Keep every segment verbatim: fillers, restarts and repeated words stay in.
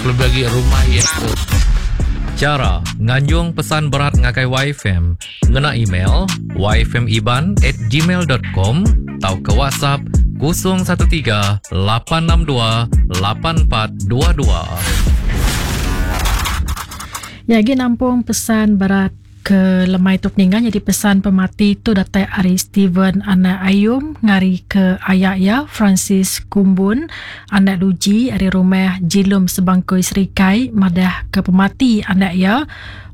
Lebih lagi rumah iya tu. Chara nganjung pesan berat ngagai Y F M ngena email y f m iban at gmail dot com tauka ke WhatsApp kosong satu tiga lapan enam dua lapan empat dua dua. Ya, lagi nampung pesan berat ke lemai tu peninggal. Jadi pesan pemati tu datai ari Steven anak Ayum ngari ke ayak ya Francis Kumbun anak Luji ari rumah Jilum Sebangkoi Serikai madah ke pemati anak ya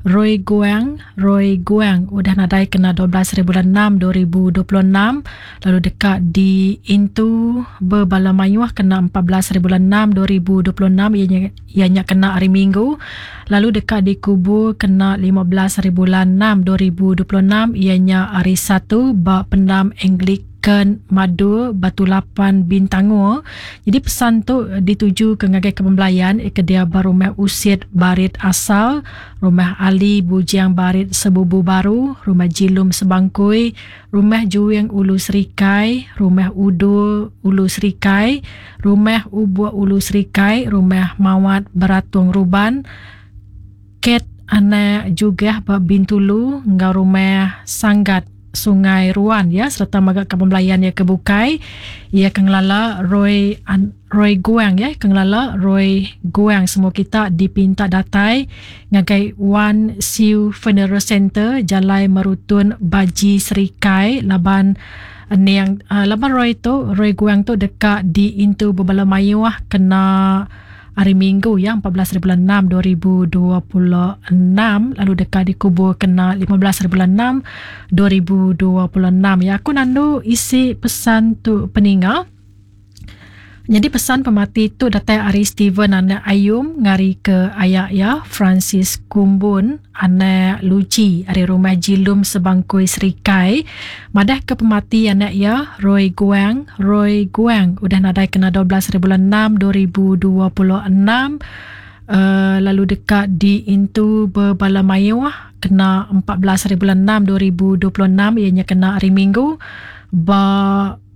Roy Guang Roy Guang udah nadai kena dua belas hari bulan enam dua ribu dua puluh enam lalu dekat di Intu berbala mayuh kena empat belas hari bulan enam dua ribu dua puluh enam ianya, ianya kena hari Minggu lalu dekat dikubur kena lima belas hari bulan enam dua ribu dua puluh enam ianya hari Satu ba pendam Anglican Madu Batu Lapan Bintango. Jadi pesan tu dituju ke ngagai kepembelayan ke dia barumah Usit Barit Asal, Rumah Ali Bujang Barit Sebubu Baru, Rumah Jilum Sebangkui, Rumah Juing Ulu Serikai, Rumah Udu Ulu Serikai, Rumah Ubuk Ulu Serikai, Rumah Mawat Beratung Ruban, Ket Anak Jugah ba Bintulu ngau Rumah Sanggat Sungai Ruan ya, serta maga ke pembelayan ya ke bukai ya ke ngelala Roy An, Roy Guang ya, ke ngelala Roy Guang. Semua kita dipinta datai ngagai One Siu Funeral Center Jalai Merutun Baji Serikai laban niang uh, laban Roy tu Roy Guang tu dekat di Intu Bebala Mayuh kena hari Minggu ya empat belas hari bulan enam dua ribu dua puluh enam lalu dekat dikubur kena lima belas hari bulan enam dua ribu dua puluh enam ya. Aku nandu isi pesan tu peninga. Jadi pesan pemati tu datai ari Steven anak Ayum ngari ke ayak ya Francis Kumbun anak Luci ari rumah Jilum Sebangkui Serikai madah ke pemati anak ya Roy Guang Roy Guang udah nadai kena dua belas hari bulan enam dua ribu dua puluh enam uh, lalu dekat di Intu Berbala Mayuh kena empat belas hari bulan enam dua ribu dua puluh enam ianya kena hari Minggu ba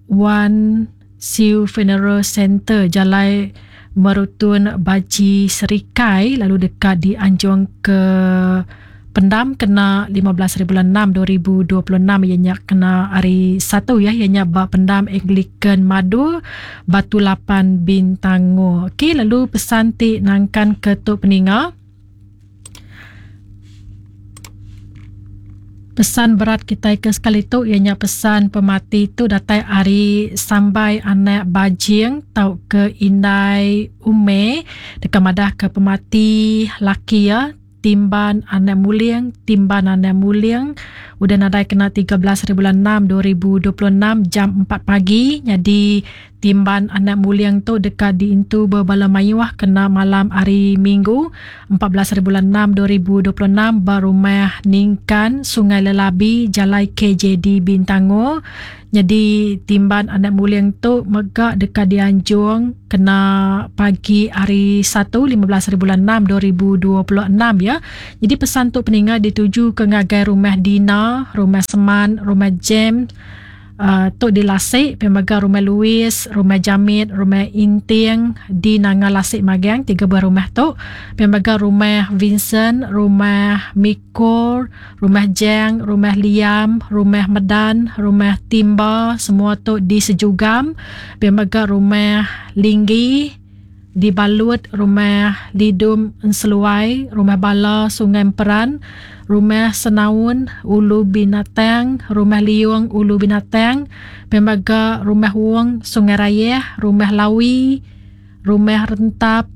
One Siu Funeral Center Jalai Merutun Baji Serikai lalu dekat di Anjung ke Pendam kena lima belas hari bulan enam dua ribu dua puluh enam ianya kena hari Satu ya, ianya ba Pendam Anglican Madu Batu Lapan Bintango. Okey, lalu pesan ti nangkan ke tu peninga. Pesan berat kita ke sekali tu ianya pesan pemati tu datai ari Sambai anak Bajing tau ke Indai Ume dekat madah ke pemati laki ya Timban anak Muling Timban anak Muling udah nadai kena tiga belas hari bulan enam dua ribu dua puluh enam jam empat pagi. Jadi Timban anak Muling tu dekat di Intu Berbala Mayuh kena malam hari Minggu empat belas hari bulan enam dua ribu dua puluh enam barumah Ningkan Sungai Lelabi Jalai K J D Bintango. Jadi Timban anak Muling tu megak dekat di Anjung kena pagi hari Satu lima belas hari bulan enam dua ribu dua puluh enam ya. Jadi pesan tu peninga dituju ke ngagai rumah Dina, rumah Seman, rumah Jem uh, tu di Lasik, pemaga rumah Louis, rumah Jamit, rumah Inting di Nanga Lasik Magang, tiga buah rumah tu. Pemaga rumah Vincent, rumah Mikor, rumah Jang, rumah Liam, rumah Medan, rumah Timba, semua tu di Sejugam. Pemaga rumah Linggi di Balut, rumah Lidum Enseluai, rumah Bala Sungai Emperan, rumah Senaun Ulu Binatang, rumah Liung Ulu Binatang, pemaga rumah Wong Sungai Raya, rumah Lawi, rumah Rentap,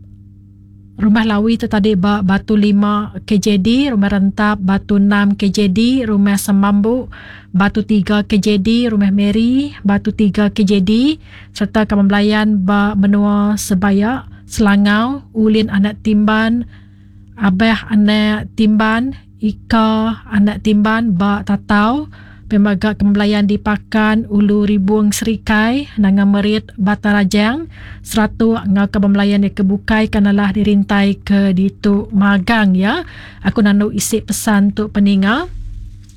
rumah Lawi tu tadi ba Batu lima K J D, rumah Rentap Batu enam K J D, rumah Semambu Batu tiga K J D, rumah Mary Batu tiga K J D, serta kepembelayan ba Menua Sebaya, Selangau, Ulin Anak Timban, Abah Anak Timban, Ika Anak Timban ba Tatau, pemaga kembelayan di Pakan Ulu Ribung Serikai, Nanga Merit Batarajang, seratu ngau kembelayan di Kebukai kanalah dirintai ke ditu Magang ya. Aku nanu isi pesan tu peninga.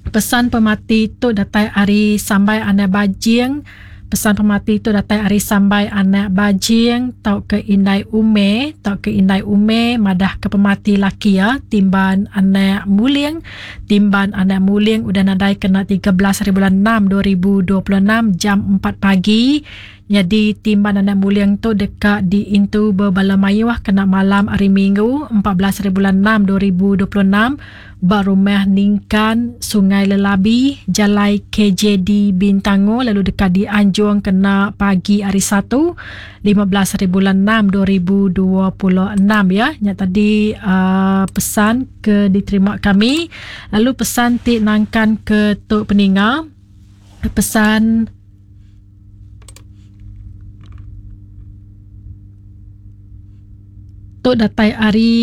Pesan pemati tu datai ari Sambai Anak Bajing, Pesan pemati tu datai ari Sambai anak Bajing tau ke Indai Ume tau ke Indai Ume madah ke pemati laki ya Timban anak Muling. Timban anak Muling udah nadai kena tiga belas hari bulan enam dua ribu dua puluh enam jam empat pagi. Jadi Timban anak Muling tu dekat diintu berbala mayuh kena malam hari Minggu empat belas hari bulan enam dua ribu dua puluh enam ba rumah Ningkan Sungai Lelabi Jalai K J D Bintango, lalu dekat dianjung kena pagi hari Satu lima belas hari bulan enam dua ribu dua puluh enam ya. Nya tadi uh, pesan ke diterima kami. Lalu pesan ti nangkan ke tu peninga, pesan tu datai ari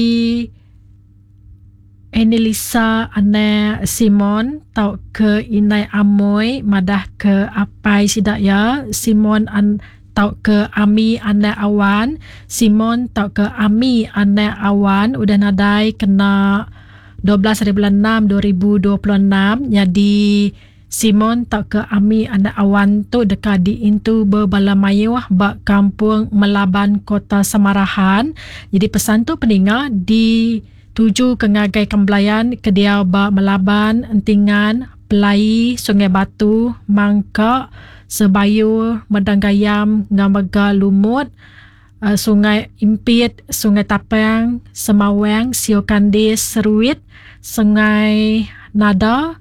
Annalisa anak Simon tau ke Inai Amoy madah ke apai sidak ya Simon an tau ke Ami anak Awan. Simon tau ke Ami anak Awan udah nadai kena dua belas hari bulan enam dua ribu dua puluh enam. Jadi Simon tau ke Ami anak Awan tu dekat diintu berbala mayuh ba kampung Melaban Kota Samarahan. Jadi pesan tu peninga di tuju ke ngagai kembelayan ke dia ba Melaban, Entingan, Pelai, Sungai Batu, Mangka, Sebayu, Medang Gayam, Ngamega Lumut, uh, Sungai Impit, Sungai Tapang, Semawang, Sio Kandis, Seruit, Sungai Nada,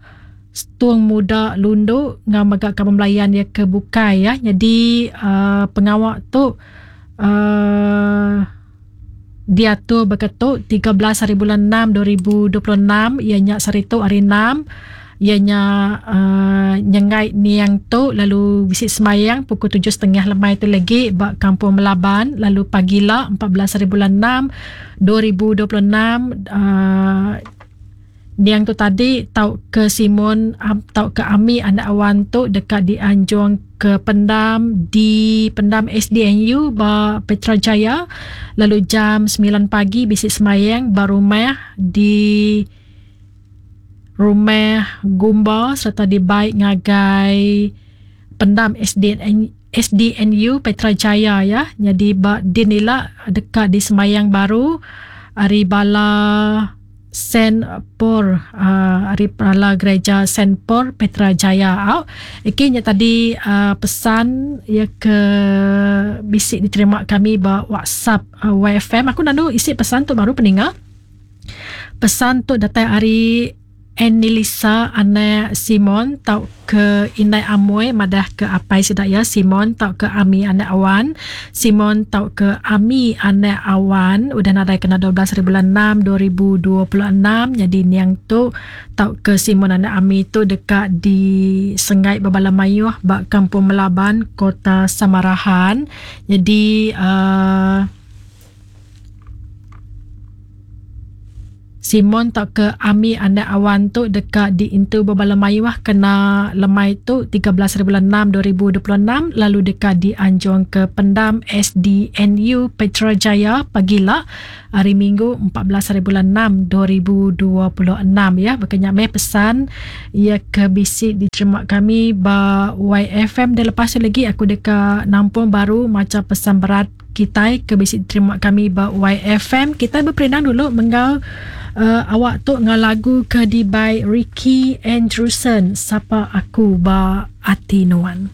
Setung Muda Lundu, Ngamega kembelayan dia ke Bukai ya. Jadi uh, pengawak tu uh, diatur berketuk tiga belas hari bulan enam dua ribu dua puluh enam, ianya sehari tu hari enam, ianya uh, nyengai niang tu, lalu visit semayang pukul tujuh setengah lemai tu lagi ba kampung Melaban, lalu pagila empat belas hari bulan enam dua ribu dua puluh enam uh, niang tu tadi tau ke Simon um, tau ke Ami anak Awan tu dekat dianjung ke pendam di pendam S D N U ba Petra Jaya, lalu jam sembilan pagi bisik semayang ba rumah di rumah Gumba serta dibaik ngagai pendam S D N, S D N U Petra Jaya ya. Jadi ba dinila dekat di semayang baru hari bala Saint Paul, uh, hari bala gereja Saint Paul Petra Jaya. Au. Okey, nya tadi uh, pesan ya ke bisik diterima kami ba WhatsApp uh, Y F M. Aku nanu isi pesan tu baru peninga. Pesan tu datang hari Annalisa anak Simon tau ke Indai Amoy madah ke apai sidak ya Simon tau ke Ami anak Awan. Simon tau ke Ami anak Awan udah nadai kena dua belas hari bulan enam dua ribu dua puluh enam. Jadi niang tu tau ke Simon anak Ami tu dekat di Sengai Bebala Mayuh bak Kampung Melaban Kota Samarahan. Jadi uh, Simon tak ke Ami anak Awan tu dekat di Intu Bebala Mayuah kena lemai tu tiga belas hari bulan enam dua ribu dua puluh enam, lalu dekat di Anjung ke Pendam S D N U Petra Jaya pagila hari Minggu empat belas hari bulan enam dua ribu dua puluh enam ya. Berkenyak meh pesan ya ke bisik diterima kami ba Y F M. Dan lepas tu lagi aku dekat nampung baru macam pesan berat kita ke bisik diterima kami ba Y F M. Kita berperindang dulu menggal Uh, awak tu dengan lagu ke di by Ricky Andrewson, Sapa Aku Ba Ati Nuan.